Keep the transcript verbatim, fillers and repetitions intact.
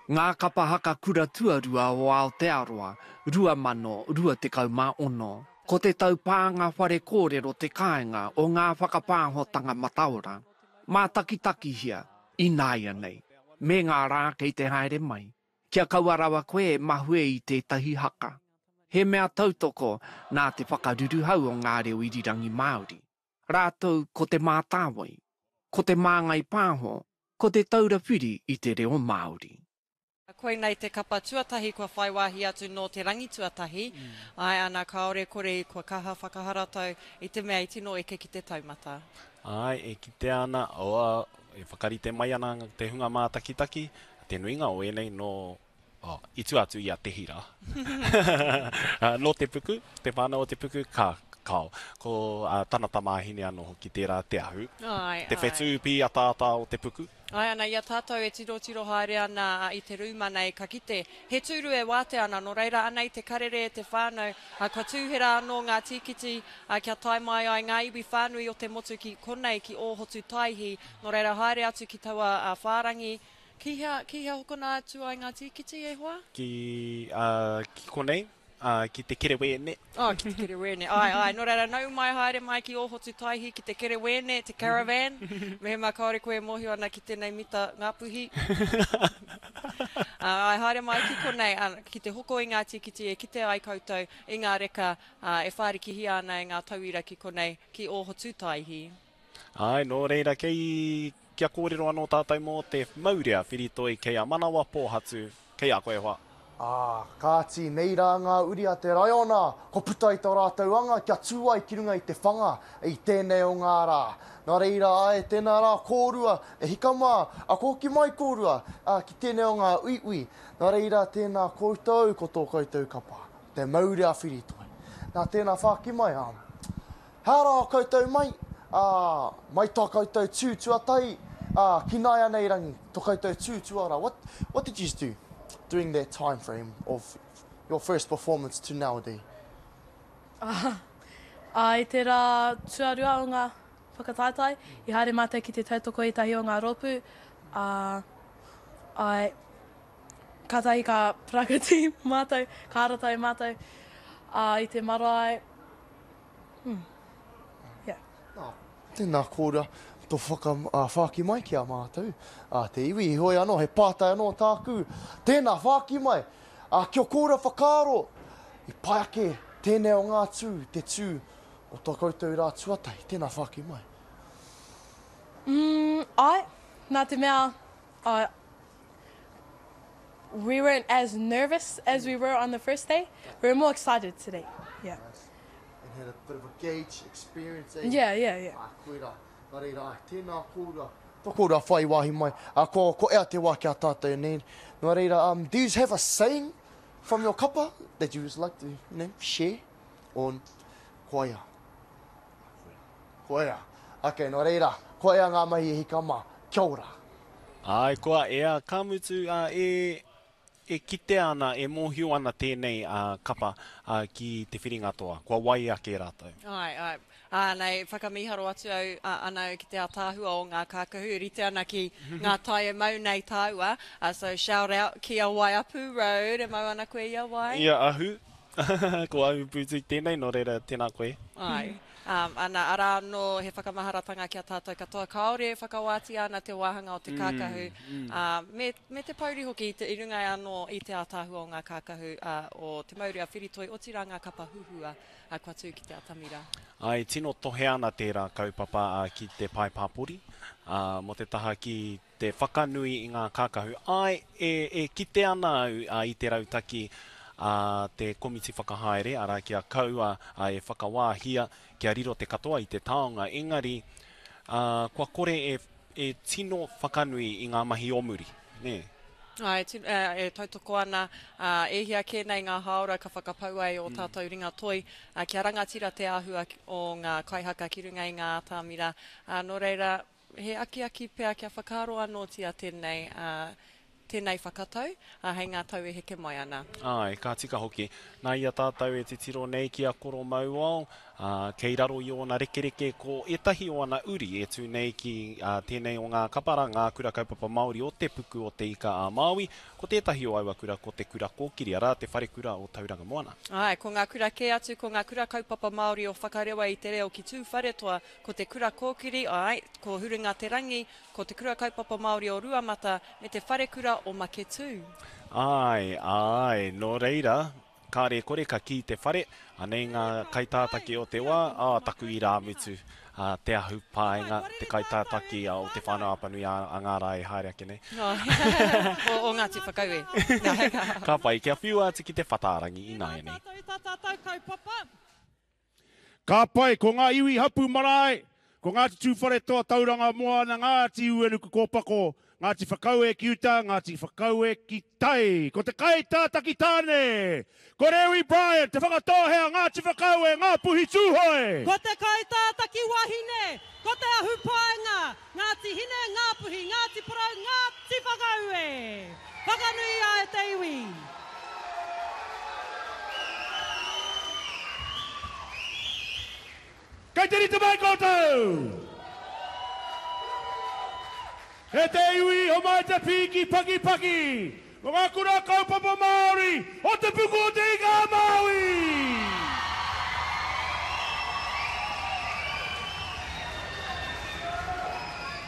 Ngā kapa haka kura tuarua o Aotearoa, rua mano rua tekau mā ono. Ko te taupānga whare kōrero te kāinga o ngā whakapāhotanga mataora. Mātakitakihia, ināianei, me ngā rā kei te haere mai, kia kaua rawa koe e mahue i tētahi haka. He mea tautoko nā te whakaruruhau o ngā reo irirangi Māori. Rātou ko Te Mātāwai, ko Te Māngai Pāho, ko Te Taura Whiri i te Reo Māori. Koinei te kapa tuatahi kua whai wāhi atu nō te rangi tuatahi, āe ana kāore kore kua kaha whakaharatau i te mea i tino eke ki te taumata. Āe, e kitea ana, oh, e whakarite mai ana te hunga mātakitaki, te nuinga o ēnei nō, oh, i tua atu i a Te Hira. Nō Te Puku, te whānau o Te Puku, ka, kao. Ko uh, tana tamāhine anō hoki tērā Te Ahu. Āe, Te āe. whetū pīataata o Te Puku. Āe ana, i a tātou e tirotiro haere ana i te rūma nei, ka kite, he tūru e wātea ana, nō reira anei te karere e te whānau, kua tūhera anō ngā tīkiti kia tae mai ai ngā iwi whānui o te motu ki konei, ki Ōhotu Taihi, nō reira haere atu ki taua whārangi. Ki hea, ki hea hokona atu ai ngā tīkiti, e hoa? Ki, uh, ki konei, uh, ki te Kerewēne. Oh, ki te Kerewēne, ai, ai. Nō reira, nau mai haere mai ki Ōhotu Taihi, ki te Kerewēne, te caravan. Mehemea kāore koe e mōhio ana ki tēnei mita Ngāpuhi. Ai, haere mai ki konei, ki te hoko i ngā tīkiti e kite ai koutou i ngā reka e whārikihia ana e ngā tauira ki konei, ki Ōhotu Taihi. Ai, nō reira, kei, kia kōrero anō tātou mō te maurea whiritoi kei a Manawa Pōhatu, kei a koe hoa. Ā, kāti, nei rā ngā uri a te raiona, kua puta i tō rātou anga kia tū ai ki runga i te whanga i tēnei o ngā rā. Nā reira, āe, tēnā rā kōrua, e hika mā, a kua hoki mai kōrua, ā, ki tēnei o ngā uiui. Nā reira, tēnā koutou, ko tō koutou kapa, te mauri a Whiritoi. Nā, tēnā whāki mai, ā, hea rā koutou mai, ā, mai tā koutou tū tuatahi, ā, ki nāianei rangi, tō koutou tū tuara. What, what did you do during that time frame of your first performance to nowadays? Ā, i te rā tuarua o ngā whakataetae, i haere mātou ki te tautoko i tahi o ngā rōpū, ā, ai, kātahi ka parakati mātou, ka haratau mātou, ā, i te marae, hmm, yeah. Nā, tēnā kōrua, tō whaka, uh, whāki mai ki a mātou, uh, te iwi, heoi anō, he pātai anō tāku, tēnā whāki mai, uh, kia kōrua whakaaro, i pai ake tēnei o ngā tū, te tū o tō koutou rā tuatahi, tēnā whāki mai. Mm, ai, nā te mea, uh, we weren't as nervous as we were on the first day. We were more excited today. Yeah. Nice. And had a bit of a gauge experience, eh? Yeah, yeah, yeah. Ah, koira. Nā reira, ai, tēnā kōrua. Tō kōrua whai wāhi mai. Uh, ko, ko ea te wā ki a tātou nei. Nā reira, um, do you have a saying from your kapa that you would like to, you know, share? On koia. Koia. Okay, nā reira, ko ea ngā mahi e hika mā. Kia ora. Ai, kua ea, ka mutu, uh, e, e kitea ana, e mōhio ana tēnei uh, kapa uh, ki te whiringa toa. Kua wai ake rātou. Ai, ai. Ā, nei, whakamīharo atu au, a, ana au ki te ātaahua o ngā kākahu, rite ana ki ngā tae e mau nei tāua. Uh, so shout out ki a Waiapu Road, e mau ana koe i a Wai? Ia Ahu. Ko Ahu Boutique tēnei, nō reira, tēnā koe. Ai. Um, ana, arā anō he whakamaharatanga ki a tātou katoa. Kāore e whakawātia ana te wāhanga o te kākahu, mm, mm. Uh, me, me te pouri hoki i, te, i runga anō i te ātaahua o ngā kākahu uh, o te mauri a Whiritoi, otirā ngā kapa huhua uh, kua tū ki te atamira. Ai, tino tohe ana tērā kaupapa uh, ki te pae pāpori, uh, mō te taha ki te whakanui i ngā kākahu. Ai, e, e kite ana au uh, i te rautaki a uh, te komiti whakahaere, arā kia kaua uh, e whakawāhia, kia riro te katoa i te taonga. Engari, uh, kua kore e, e tino whakanui i ngā mahi o muri. Nē? Ai, e, e tautoko ana, uh, e hia kē nei ngā hāora ka whakapaua e o tātou ringa toi, uh, kia rangatira te āhua o ngā kaihaka ki runga i ngā atamira. Uh, nō reira, he akiaki pea kia whakaaro anōtia tēnei, uh, tēnei whakatau, uh, hei ngā tau e heke mai ana. Ai, ka tika hoki. Nā ia tātou e titiro nei ki a Koro Mauao, Ā, kei raro i ōna rekereke ko ētahi o ana uri e tū nei ki ā, tēnei o ngā kapara, ngā kura kaupapa Māori o Te Puku o Te Ika-a-Māui. Ko tētahi o aua kura ko Te Kura Kōkiri, arā, te wharekura o Tauranga Moana. Āe, ko ngā kura kē atu, ko ngā kura kaupapa Māori o Whakarewa i te reo ki Tūwharetoa, ko Te Kura Kōkiri, āe, ko Huringa Te Rangi, ko Te Kura Kaupapa Māori o Ruamata, me te Wharekura o Maketū. Āe, āe, nō reira, kāre e kore ka kī te whare, anei ngā kaitātaki o te wā, ā, taku irāmutu, ā, Te Ahu Paenga, te kaitātaki o Te Whānau-a-Apanui ā, ā ngā rā e haere ake nei. O, o Ngāti Whakaue. Ka pai, kia whiua atu ki te whatārangi ināianei. Ka pai, ko ngā iwi hapū marae, ko Ngāti Tūwharetoa Tauranga Moana, Ngāti Uenuku Kōpako, Ngāti Whakaue ki uta, Ngāti Whakaue ki tai. Ko te kaitātaki tāne, ko Rewi Bryant, Te Whakatōhea, Ngāti Whakaue, Ngāpuhi Tūhoe. Ko te kaitātaki wahine, ko Te Ahu Paenga, Ngāti Hine, Ngāpuhi, Ngāti Porou, Ngāti Whakaue. Whakanuia e te iwi. Kei te rite mai koutou! E te iwi, homai te pīki pakipaki o ngā kura kaupapa Māori o Te Puku o Te Ika-a-Māui!